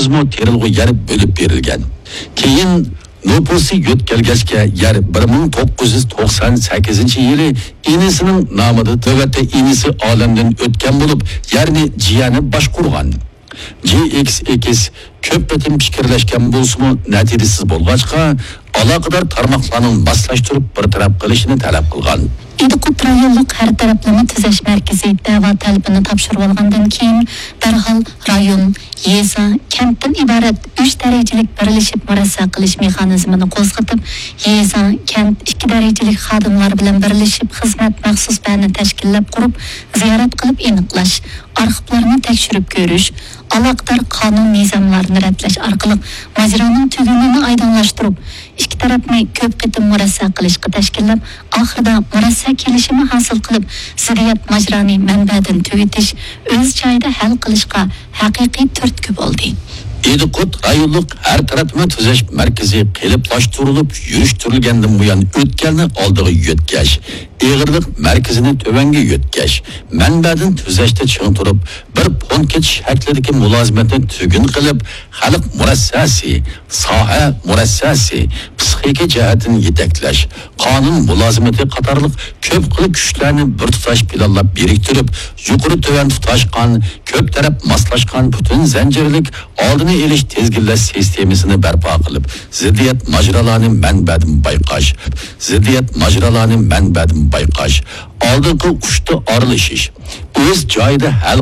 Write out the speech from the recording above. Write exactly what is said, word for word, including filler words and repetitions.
مو تېرىلغۇ يەر بۆلۈپ بېرىلگەن. كېيىن نوپۇسى يۆتكەلگەچكە يەر بىر مىڭ توققۇز يۈز توقسان سەككىزىنچى يىلى ئىنىسىنىڭ نامىدا، نۆۋەتتە ئىنىسى ئالەمدىن ئۆتكەن بولۇپ، يەرنى جىيەنى باشقۇرغان. جى ئېكس ئېكس كۆپ قېتىم پىكىرلەشكەن بولسىمۇ، نەتىجىسىز بولغاچقا، ئالاقىدار تارماقلارنىڭ ماسلاشتۇرۇپ بىر تەرەپ قىلىشىنى تەلەپ قىلغان. ئىدىقۇت رايونلۇق ھەر تەرەپلىمە تۈزەش مەركىزى دەۋا تەلىپىنى تاپشۇرۇۋالغاندىن كېيىن، دەرھال رايون، يېزا، كەنتتىن ئىبارەت ئۈچ دەرىجىلىك بىرلىشىپ مۇرەسسە قىلىش مېخانىزمىنى قوزغىتىپ، يېزا، كەنت ئىككى دەرىجىلىك خادىملار بىلەن بىرلىشىپ خىزمەت مەخسۇس بەنى تەشكىللەپ قۇرۇپ، زىيارەت قىلىپ ئېنىقلاش، ئارخىپلارنى تەكشۈرۈپ كۆرۈش، ئالاقىدار قانۇن نىزاملارنى رەتلەش ئارقىلىق ماجىرانىڭ تۈگۈنىنى ئايدىڭلاشتۇرۇپ، ئىككى تەرەپنى كۆپ قېتىم مۇرەسسە قىلىشقا تەشكىللەپ، ئاخىرىدا مۇرەسسە كېلىشىمى ھاسىل قىلىپ، زىددىيەت ماجىرانى مەنبەدىن تۈگىتىش ئۆز جايىدا ھەل قىلىشقا ھەقىقىي تۈرتكە بولدى. ئىدىقۇت رايونلۇق ھەر تەرەپلىمە تۈزەش مەركىزى قېلىپلاشتۇرۇلۇپ يۈرۈشتۈرۈلگەندىن بۇيان، ئۆتكەلنى ئالدىغا يۆتكەش، ئېغىرلىق مەركىزىنى تۆۋەنگە يۆتكەش، مەنبەدىن تۈزەشتە چىڭ تۇرۇپ، بىر پونكىت شەكلىدىكى مۇلازىمەتنى تۈگۈن قىلىپ، خەلق مۇرەسسەسى، ساھە مۇرەسسەسى، پىسخىكا جەھەتتىن يېتەكلەش، قانۇن مۇلازىمىتى قاتارلىق كۆپ خىل كۈچلەرنى بىر تۇتاش پىلانلاپ بىرىكتۈرۈپ، يۇقىرى تۆۋەن تۇتاشقان، كۆپ تەرەپ ماسلاشقان پۈتۈن زەنجىرلىك ئالدىنى ئېلىش تىزگىنلەش سىستېمىسىنى بەرپا قىلىپ، زىددىيەت ماجىرالارنى مەنبەدىن بايقاش، زىددىيەت ماجىرالارنى مەنبەدىن بايقاش، ئالدىنقى ئۇچتا ئارىلىشىش، ئۆز جايىدا ھەل